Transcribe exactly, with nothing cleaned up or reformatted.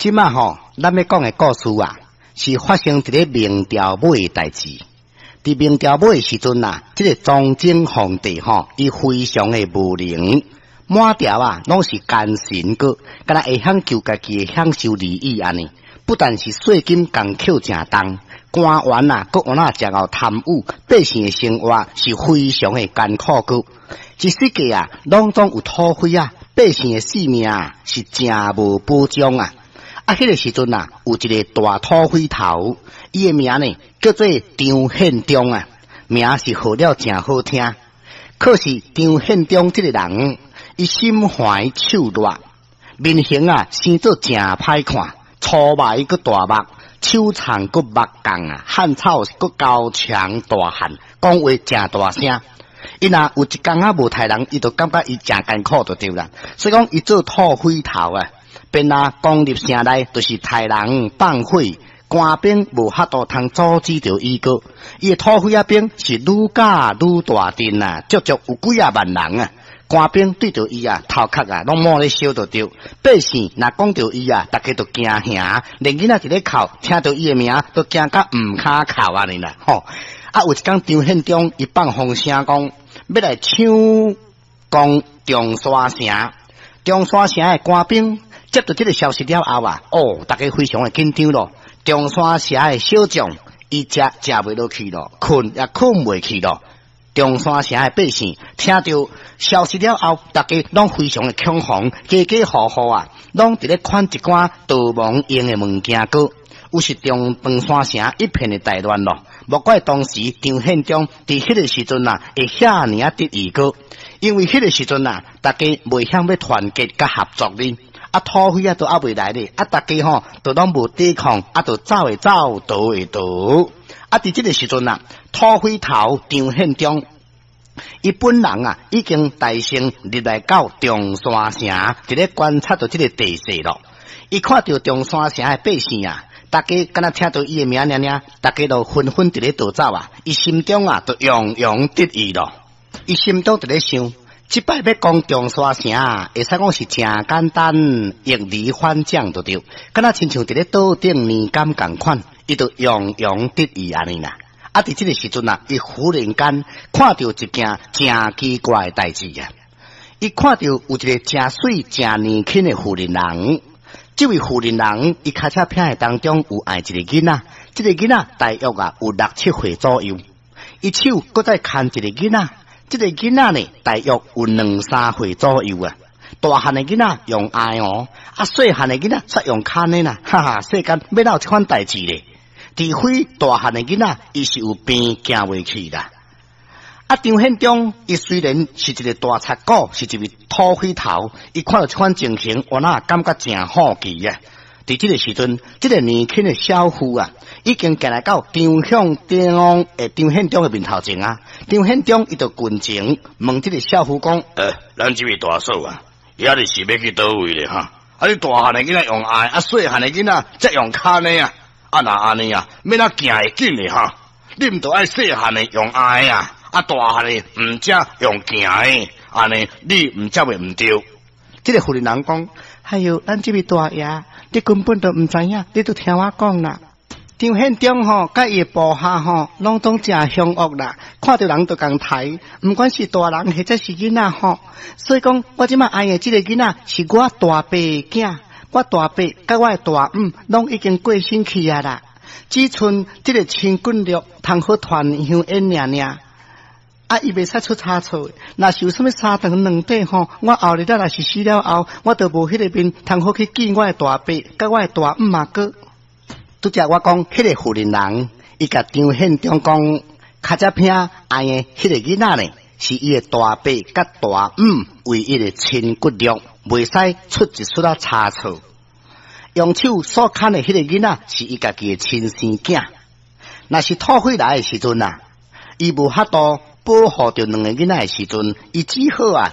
這馬吼，咱欲講的故事啊，是發生佇咧明朝尾的代誌。佇明朝尾的時陣啊，這個崇禎皇帝吼，伊非常的無能，滿朝啊，攏是奸臣閣，敢若會曉求家己的享受利益按呢。不但是稅金共扣誠重，官員啊，閣有那誠𠢕貪污，百姓的生活是非常的艱苦閣。一四季啊，攏總有土匪啊，百姓的性命啊，是誠無保障啊。啊，彼個時陣啊，有一個大土匪頭，伊的名呢叫做張獻忠啊，名是號了誠好聽。可是張獻忠這個人，伊心懷手辣，面型啊生做誠歹看，粗眉閣大目，手長閣目絳啊，漢草閣高強大漢，講話誠大聲。伊若有一工仔無刣人，伊就感覺伊誠艱苦就對啦。所以講，伊做土匪頭啊，便若攻入城內，就是刣人放火，官兵無法度通阻止著伊閣。伊的土匪仔兵是愈加愈大陣啊，足足有幾仔萬人啊！官兵對著伊啊，頭殼啊，攏滿咧燒就對。百姓若講著伊啊，逐家都驚嚇，連囡仔佇咧哭，聽著伊的名都驚甲毋跤哭按呢啦。吼！啊，有一工張獻忠伊放風聲講，欲來搶攻中山城。中山城的官兵接到這個消息了後啊，哦，逐家非常的緊張咯。中山城的小將伊食食袂落去咯，睏也睏袂去咯。中山城的百姓聽著消息了後，逐家攏非常的恐慌，家家戶戶啊，攏佇咧款一寡逃亡用的物件閣，有時中中山城一片的大亂咯。莫怪當時張獻忠佇彼個時陣啊，會遐爾仔得意閣，因為彼個時陣啊，逐家袂曉欲團結佮合作哩，啊土匪啊都猶未來咧，啊逐家吼都攏無抵抗，啊就走的走，逃的逃。啊佇這個時陣啊，土匪頭張獻忠，伊本人啊已經帶兵入來到中山城，佇咧觀察著這個地勢咯。伊看著中山城的百姓啊，逐家敢若聽著伊的名爾爾，逐家都紛紛佇咧逃走啊！伊心中啊，就洋洋得意咯。伊心中佇咧想，這擺欲攻中山城啊，會使講是誠簡單，易如反掌就對，敢若親像佇咧桌頂年柑仝款，伊就洋洋得意按呢啦。啊！佇這個時陣啊，伊忽然間看著一件誠奇怪的代誌啊！伊看著有一個誠媠、誠年輕的婦人人。這位婦人人，伊跤車片的當中有愛一個囡仔，這個囡仔大約啊有六七歲左右。伊手閣再牽一個囡仔，這個囡仔呢大約有兩三歲左右啊。大漢的囡仔用愛哦，啊細漢的囡仔卻用牽的啦，哈哈！世間欲哪有這款代誌咧？除非大漢的囡仔，伊是有病行袂去啦。啊，張獻忠伊雖然是一個大賊股，是一位土匪頭，伊看著這款情形，我哪感覺誠好奇啊！佇這個時陣，這個年輕的小婦啊，已經行來到張獻忠的張獻忠的面頭前啊。張獻忠伊就近前問這個少婦講：呃，咱這位大嫂啊，遐爾是欲去佗位咧哈？啊，你大漢的囡仔用愛，啊，細漢的囡仔則用牽的啊？啊，若按呢啊，欲怎行會緊咧哈？你毋著愛細漢的用愛啊？啊，大漢的毋才用行的，按呢你毋才會毋對。這個婦人人講：哎喲，咱這位大爺，你根本都毋知影，你都聽我講啦。張獻忠吼，佮伊的部下吼，攏總誠兇惡啦，看著人就共刣，毋管是大人或者是囡仔吼。所以講，我這馬愛的這個囡仔是我大伯的囝，我大伯佮我的大姆攏已經過身去啊啦。只賰這個親骨肉通好團香宴爾爾。啊！伊袂使出差錯，若是有啥物三長兩短吼，我後日仔若是死了後，我就無彼個面通好去見我的大伯，佮我的大姆阿哥。拄才我講，彼個婦人人，伊共張獻忠講，跤車片愛的彼個囡仔呢，是伊的大伯佮大姆唯一的親骨肉，袂使出一絲仔差錯。用手所牽的彼個囡仔，是伊家己的親生囝。若是土匪來的時陣啊，伊無法度保護著兩个囡仔的時陣，伊只好啊，